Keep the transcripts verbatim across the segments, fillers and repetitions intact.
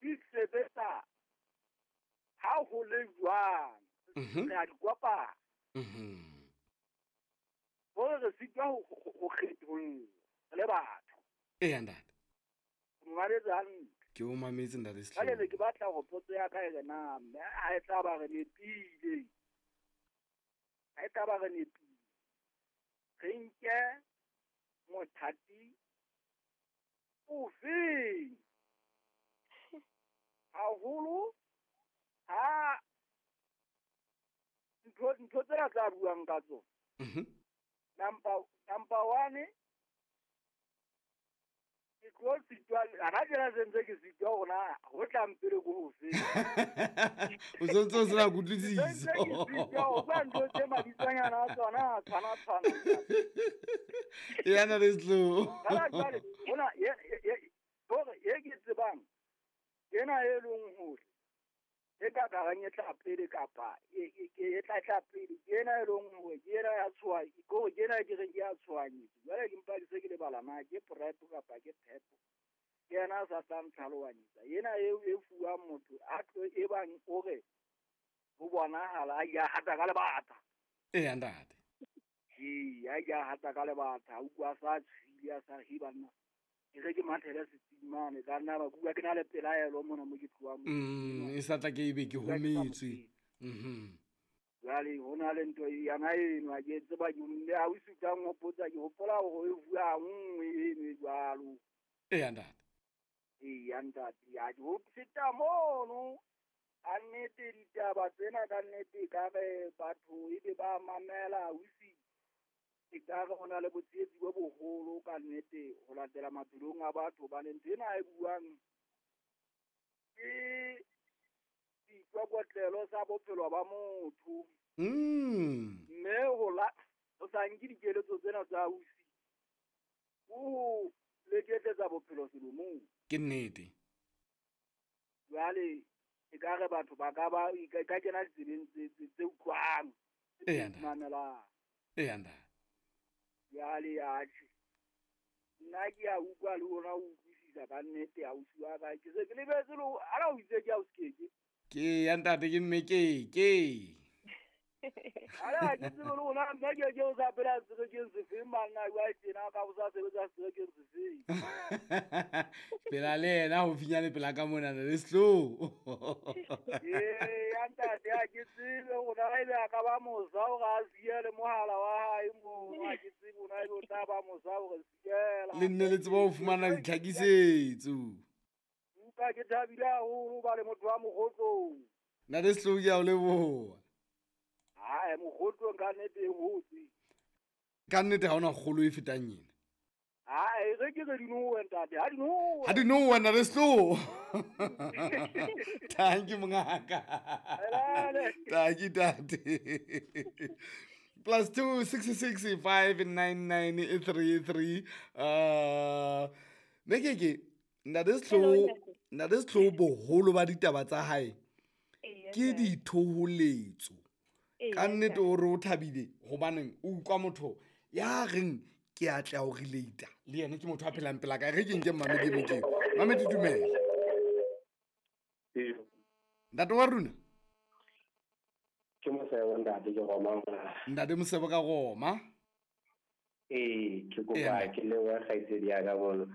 Di sebetsa ha ho le jwang re a di kopana. Hore re sitwa ho kgetholla re le batho. Eya ntate. O mametse hantle. Ke o mametse ntate Sehlooho. Jwale ne ke batla hore potso ya ka e re na mme ha e tla ba re nepile. Ha e tla ba re nepile. Re nke mothati ofeng? Haholo ha ntho ntho tsena tsa buang ka tsona. Mhm. Number number one ke tlo sitwa hana tjena se ntse ke sitwa hore na ho tlang pele ko hofe. O sentse o sena kutlwisiso. Se ntse ke sitwa ho bua ntho tse mabitsonyana a tsona a tshwana tshwana. Eya ntate Sehlooho. Jwale jwale hona ye ye hore ye ke tsebang ena e leng hore e ka karang e tla pele kapa e e e tla tla pele ke ena e leng hore ke ena ya tshoha ke hore ke ena ke reng ke ya tshohanyetso. Jwale ke mpa ke se ke lebala na ke PrEP kapa ke PEP. Ke yena a sa tlang tlhalohanyetsa. Ena eo e fuwang motho a tlo e bang o re ho bonahala a ya hata ka lebata. Eya ntate. Ee, a ya hata ka lebata, a utlwa sa tshwile a sa re banna. Ke re ke mathele setsing mane ka nna ba bua ke na le pelaelo mona mo ke tlohang mo. Mm, e sa tla ke ebe ke hometswe. Mhm. Jwale ho na le ntho yana eno ha ke tseba ke mme ha o sutang hopotsa ke hopola hore e bua nngwe eno e jwalo. Eya ntate. Eya ntate, ya ke ho feta mono. Ka nnete ditaba tsena ka nnete ka re batho ebe ba mamela ausi. E ka re ho na le botsietsi bo boholo ka nnete ho latela maphelong a batho hobane ntho ena e buang ke seikokotlelo sa bophelo ba motho. Mm. Mme ho la ho sa nke dikeletso tsena tsa ausi ho leketletsa bophelo selomong. Ke nnete. Jwale e ka re batho ba ka ba e ka kena ditsebeng tse tse utlwang Eya ntate. mamelang. Eya ntate. Jwale atjhe nna ke a utlwa le ona o utlwisisa ka nnete ausi wa ka. Ke se ke lebetse le ha o itse ke ausi Keke. Ke ya ntate ke mme Keke. Ala ke tsebe le ona mme Keke o sa phela serekeng sefeng banna jwale tjena ka o sa sebetsa serekeng sefeng. Phela le yena ho finyane pela ka mona le Sehlooho. Ee ya ntate ha ke tsebe hore na ebe a ka ba mosa hore a siele mohala wa hae moo ha ke tsebe hore na ebe o tla ba mosa hore siela. Le nne le tseba ho fumana ditlhakisetso. Utlwa ke thabile haholo ba le motho wa Mokgotlong. Ntate Sehlooho ke a o leboha. Hae Mokgotlong ka nnete e hotse. Ka nnete ha hona kgolo e fetang ena. Hae re ke re dinowe ntate, ha dinowe. Ha dinowe ntate Sehlooho. Thank you mongaka. Thank you ntate. Plus two six six five nine nine three three. Uh mme Keke ntate Sehlooho, ntate Sehlooho boholo ba ditaba tsa hae ke dithoholetso. Ka nnete o re o thabile hobaneng o utlwa motho ya reng ke a tla o relate le yena ke motho a phelang pela ka re ke nke mamedi mokeng. Mamedi dumela. Ee. Ntate wa rona. Ke Mosebo ntate ke Roma. Ntate Mosebo ka Roma. Ee, ke kopa ke leboha kgaitsedi ya ka bona.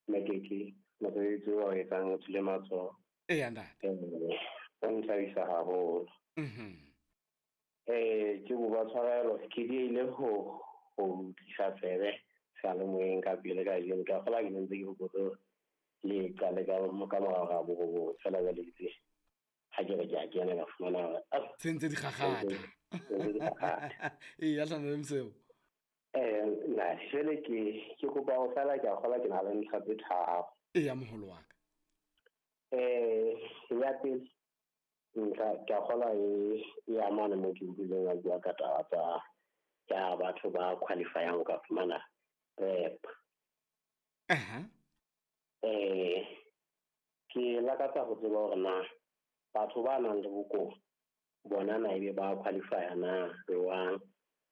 Mme Keke mosebetsi o etsang o tswile matsoho. Eya ntate. O nthabisa haholo. Mhm. Eh ke kopa tshwarelo ke diehile ho ho tlisa tsebe seyalemoyeng ka pele kajeno ka kgola ke ntse ke hopotse le qale ka ka morao ga borobong fela jwale itse ha ke re ke a kena ka fumana hore sentse di kgakgatha. Ee ya hlana le Mosebo. Eh na jwale ke ke kopa ho fela ke a kgola ke na le ntlha tse tharo. Eya moholo wa ka. Eh ya pele ntlha ke a kgola e e amana mo ke utlwileng a bua ka taba tsa ya batho ba qualifyang ho ka fumana PrEP. Aha. Eh ke lakatsa ho tseba hore na batho ba nang le bokowa bona na ebe ba qualify na jwang,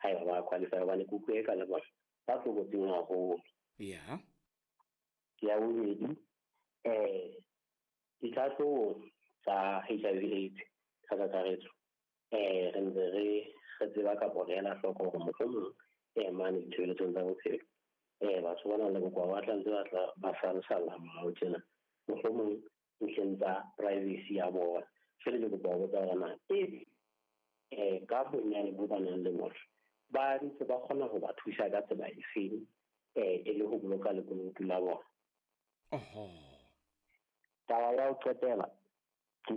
haeba ba qualify hobane ke utlwe ka le bona ba tlokotsing haholo. Yeah. Ya bobedi eh ke Ditlhatlhobo tsa H I V AIDS ka kakaretso eh re ntse re re tseba kapa re ela hloko hore mohlomong eh mane ditshebeletsong tsa bophelo eh batho ba nang le bokowa ba tla ntse ba tla ba salesalla morao tjena mohlomong ntlheng tsa privacy ya bona. Jwale ke kopa ho botsa hore na e eh ka bonyane bo ba nang le bona ba ntse ba kgona ho ba thusa ka tsela efeng eh e le ho boloka lekunutu la bona. Oho. Taba ya ho qetela ke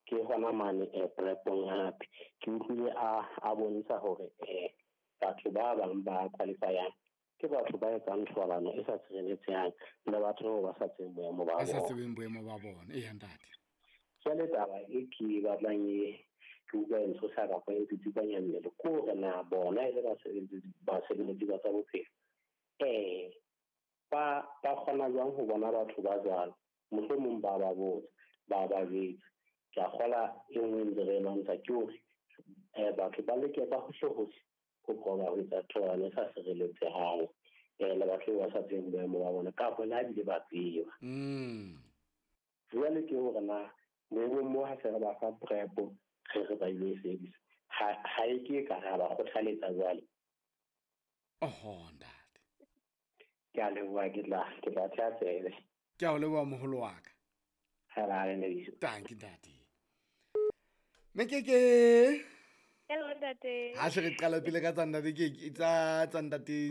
ke hona mane eh prepong hape ke utlwile a a bontsha hore eh batho ba bang ba qualifyang ke batho ba etsang thobalano e sa tshireletsehang le batho ba sa tsebeng boemo ba Ba sa bona. tsebeng boemo ba bona. Eya ntate. Jwale taba e ke batlang e ke utlwa e ntshosa kapa e tsitsipanya mmele ke hore na bona e le basebeletsi basebeletsi ba tsa bophelo eh ba ba kgona jwang ho bona batho ba jwalo, mohlomong ba ba botsa ba ba jwetsa. Ke a kgola e nngwe ntse re e lwantsha ke hore eh batho ba leke ka hohle hohle ho qoba ho etsa thobalano e sa sireletsehang eh le batho ba sa tsebeng boemo ba bona kapa le ha ebile ba tseba. Mm. Jwale ke hore na boemong moo ha se re ba fa PrEP re re ba ilo e sebedisa ha ha e ke ka ra ba kgothaletsa jwale. Oho ntate. Ke a leboha, ke tla ke tla theha tsebe. Ke a o leboha moholo wa ka. Ha ra le lebitso. Tanki ntate. Mekeke. Hello ntate. Ha se re qala pele ka tsa ntate ke ke tsa tsa ntate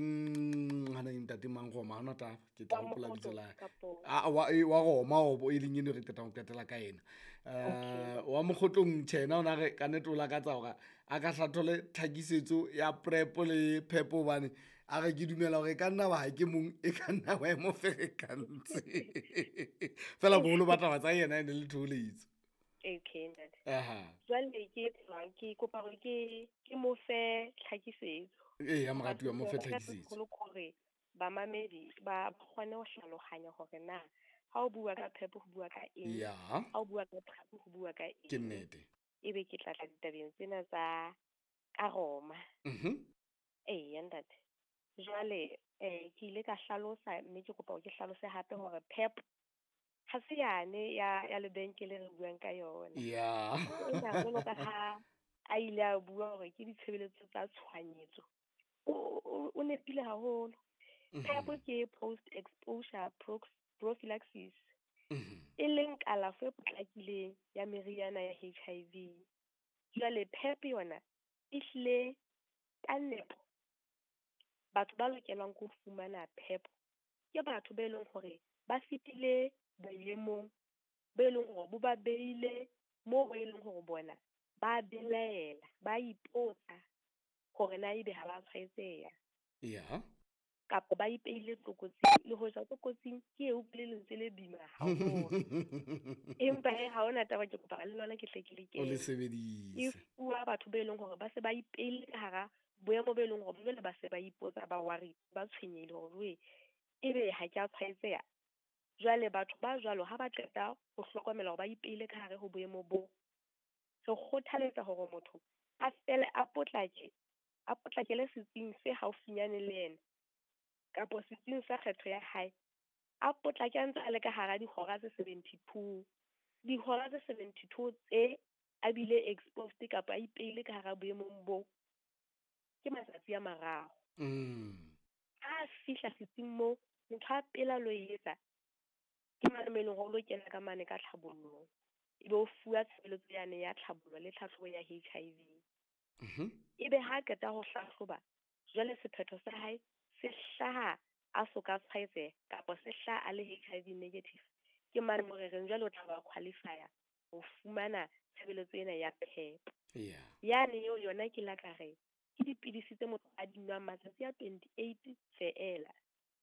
hana ntate mang Roma hona taba ke tla Wa hopola lebitso Mokgotlo la hae. kapo? A wa e, wa Roma o e leng eno re qetang ho qetela ka ena. Eh wa Mokgotlong tjhena ona re ka nnete o lakatsa hore a ka hlathole tlhakisetso ya PrEP le PEP hobane a re ke dumela hore e ka nna ba ha ke mong e ka nna wa e mo ferekantse. Fela boholo ba taba tsa yena e ne le thoholetso. Okay ntate. Aha. Jwale ke etsang ke kopa hore ke ke mo fe tlhakisetso. Ee, ya moratuwa mo fe Ka tlhakisetso. holo hore bamamedi ba kgone ho hlaloganya hore na ha o bua ka PEP ho bua ka eng, Ya. ha o bua ka PrEP ho bua ka Ke eng. nnete. Ebe ke tla tla ditabeng tsena tsa ka Roma. Mhm. Eya ntate. Jwale eh ke ile ka hlalosa mme ke kopa hore ke hlalose hape hore PEP ha se yane ya ya lebenkele re buang ka yona. Ya. Ena jwalo ka ha a ile a bua hore ke ditshebeletso tsa tshohanyetso. O, o, o nepile haholo. Mhm. PEP ke post exposure prophylaxis. Mhm. E leng kalafo e potlakileng ya meriana ya H I V. Jwale PEP yona e hlile ka nepo. Batho ba lokelwang ke ho fumana PEP ke batho be leng hore ba fetile boemong bo e leng hore bo ba beile moo bo e leng hore bona ba belaela, ba ipotsa hore na ebe ha ba tshwaetseha. Ya. Kapa ba ipeile tlokotsing, le hoja tlokotsing ke eo le lentswe le boima haholo. Empa he ha hona taba, ke kopa le lona ke hle ke le O le kene. sebedise. E fuwa batho be leng hore ba se ba ipeile ka hara boemo bo e leng hore jwale ba se ba ipotsa, ba worry, ba tshwenyehile hore jwe ebe ha ke a tshwaetseha. Jwale batho ba jwalo ha ba qeta ho hlokomela hore ba ipeile ka hare ho boemo bo, re kgothaletsa hore motho a fele a potlake, a potlakele setsing se haufinyane le yena kapo setsing sa kgetho ya hae, a potlake a ntse a le ka hara dihora tse seventy-two. Dihora tse seventy-two tse a bile exposed kapa a ipeile ka hara boemong bo ke matsatsi a mararo. Mm. Ha a fihla setsing moo, ntho ya pele a lo e etsa ke mane mo e leng hore o lo kena ka mane ka tlhabollong, ebe o fuwa tshebeletso yane ya tlhabollo le tlhahlobo ya H I V. Mhm. Ebe ha qeta ho hlahloba, jwale sephetho sa hae se hlaha a so ka tshwaetseha kapa se hlaha a le H I V negative, ke mane mo re reng jwale o tla ba qualify-a ho fumana tshebeletso ena ya PEP. Yeah. Yane eo yona ke la ka re ke dipidisi tse motho a di nwang matsatsi a twenty-eight feela.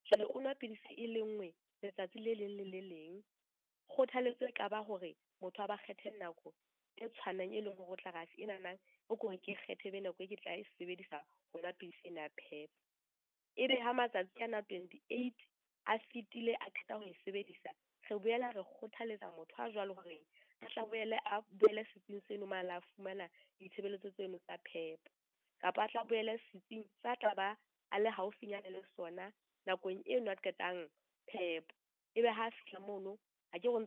Jwale o nwa pidisi e le nngwe letsatsi le leng le le leng. Kgothaletso e ka ba hore motho a ba kgethe nako e tshwanang e leng hore o tla re atjhe enana o ko re ke kgethe be nako e ke tla e sebedisa ho nwa pidisi ena ya PEP. Ebe ha matsatsi ana twenty-eight a fetile a qeta ho e sebedisa, re boela re kgothaletsa motho a jwalo hore a tla boele a boele setsing seno mane a fumana ditshebeletso tseno tsa PEP, kapa a tla boele setsing sa tla ba a le haufinyane le sona nakong eno a qetang PEP. Ebe ha a fihla mono, ha ke re o ntsa